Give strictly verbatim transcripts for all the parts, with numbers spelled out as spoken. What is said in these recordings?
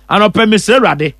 Anɔpɛ mesrɛ Awurade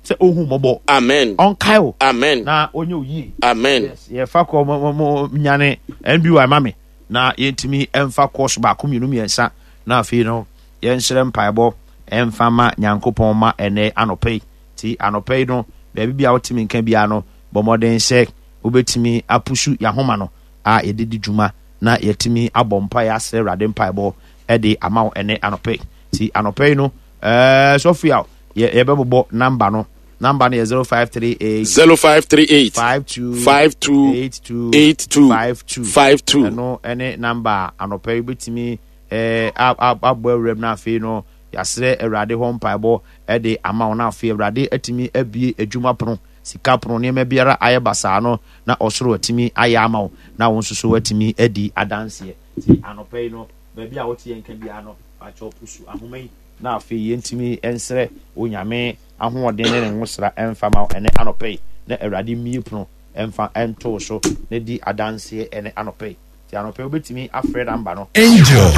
sɛ ɔhu mmɔbɔ. Amen. Ɔnkae wo. Amen. Na ɔnyɛ wo yie. Amen. Yes, yɛfa kɔ mo mo nyane N B Y ma me na yɛntumi ɛmfa course baako, mmienu, mmiɛnsa, na afei no yɛnhyerɛ mpaebɔ ɛmfa ma Nyankopɔn ma ɛnɛ anɔpɛ yi. Nti anɔpɛ yi no, baabi bi a wotumi nka biara no, bɔ mmɔden sɛ wobɛtumi apusu yɛahoma no a yɛde di dwuma na yɛtumi abɔ mpaeɛ asrɛ Awurade mpaebɔ ɛde ama wo ɛnɛ anɔpɛ yi. Nti anɔpɛ yi no, ɛɛ sɔfo a yɛbɛbobɔ number no, number no yɛ zero five three eight zero five three eight five two five two eight two eight two five two. five two. Ɛno ɛne number a anɔpɛ yi wobɛtumi ɛɛ abɔ awuram no. Afei no yɛasrɛ Awurade hɔ mpaebɔ ɛde ama wo, na afei Awurade atumi abie adwuma pono, sika pono, nneɛma biara ayɛ basaa no na ɔsoro atumi ayɛ ama wo, na wo nso so atumi adi adanseɛ. Nti anɔpɛ yi no, baabi a wote yɛn ka biara no, pakyɛw pusu ahoma yi na afei yɛntumi nsrɛ Onyame ahoɔden ne ne nwosra ɛmfa ma wo ɛne anɔpɛ yi, na Awurade mmie pono ɛmfa ɛnto so na di adanseɛ ɛne anɔpɛ yi. Nti anɔpɛ yi wobɛtumi afrɛ number no. Angel.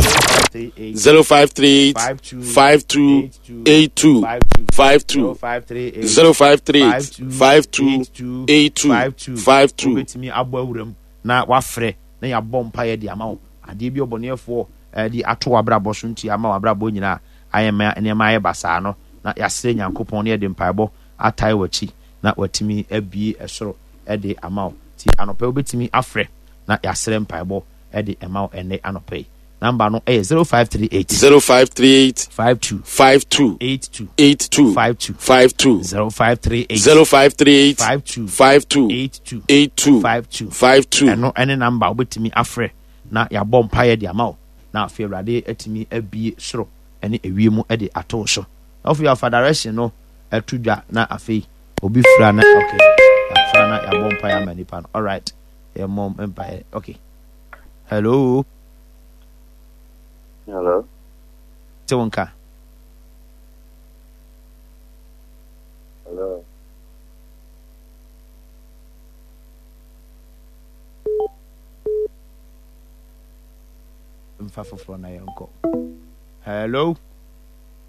three eight zero five three eight five two five two eight two five two. zero five three eight zero five three eight five two eight two five two. five two. Wobɛtumi abɔ awuram na wafrɛ na yɛabɔ mpaeɛ de ama wo. Adeɛ bi ɔbɔneɛfoɔ de ato w'abrabɔ so nti ama w'abrabɔ nyinaa ayɛ ma nneɛma ayɛ basaa no, na yɛasrɛ Nyankopɔn na yɛde mpaebɔ atae w'akyi na watumi abie ɛsoro de ama wo. Nti anɔpɛ wobɛtumi afrɛ na yɛasrɛ mpaebɔ de ɛma wo ɛnɛ anɔpɛ yi. Number no ɛyɛ zero five three eight zero five three eight five two five two eight two eight two five two. five two. zero five three eight zero five three eight five two five two eight two eight two five two. five two. Ɛno ɛne number wobɛtumi afrɛ na yɛabɔ mpaeɛ de ama wo, na afei Awurade atumi abie soro ne ewiem de ato wo so. Na afei afa direction no ɛto dwa na afei obi fira na okay, yɛafra na yɛabɔ mpaeɛ ama nipa no. Alright, yɛmmɔ mpaeɛ. Okay, hello. Hello. Te wo nka. Hello. Mfa foforɔ na yɛnkɔ. Hello.